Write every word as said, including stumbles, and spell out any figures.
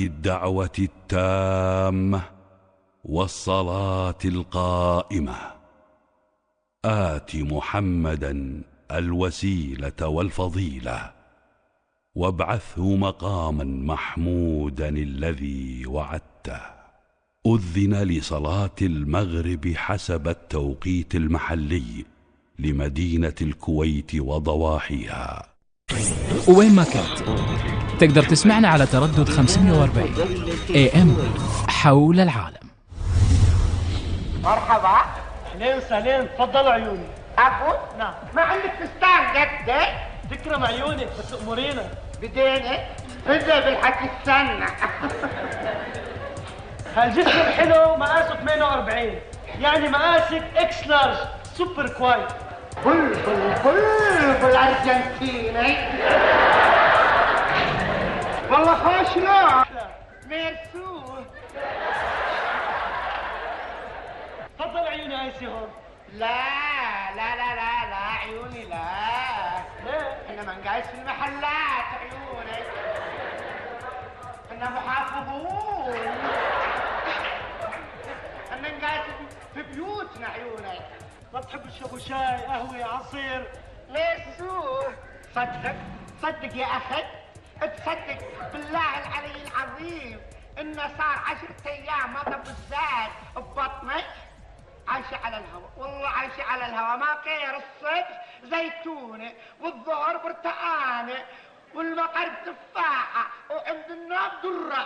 هذه الدعوة التامة والصلاة القائمة آت محمدا الوسيلة والفضيلة وابعثه مقاما محمودا الذي وعدته. أذن لصلاة المغرب حسب التوقيت المحلي لمدينة الكويت وضواحيها. وين ما كنت تقدر تسمعنا على تردد خمسمية وأربعين إيه إم حول العالم. مرحبا. اهلين وسهلين، تفضلوا عيوني. أبو؟ نعم. ما عندك فستان قده؟ تكرم عيونك بس تأمرينا. بدينك؟ بدأ بالحكي السنة. هالجسم الحلو مقاسه ثمانية وأربعين، يعني مقاسك اكس لارج سوبر كوايت. بلبل بلبل أرجنتيني. والله خوش نوع. ميرسو. تفضل عيوني ايسي هون. لا لا لا لا لا عيوني لا. ليه؟ احنا ما نقايس في المحلات عيوني. احنا محافظون. احنا نقايس في بيوتنا عيوني. ما تحب تشربوا شاي، قهوة، عصير؟ ميرسو. صدق صدق يا اخي، تصدق بالله العلي العظيم انه صار عشرة ايام ما طب الزاد ببطنك. عايشة على الهواء، والله عايشة على الهواء. ما غير الصبح زيتونة والظهر برتقانة والمغرب تفاحة وعند النوم درة.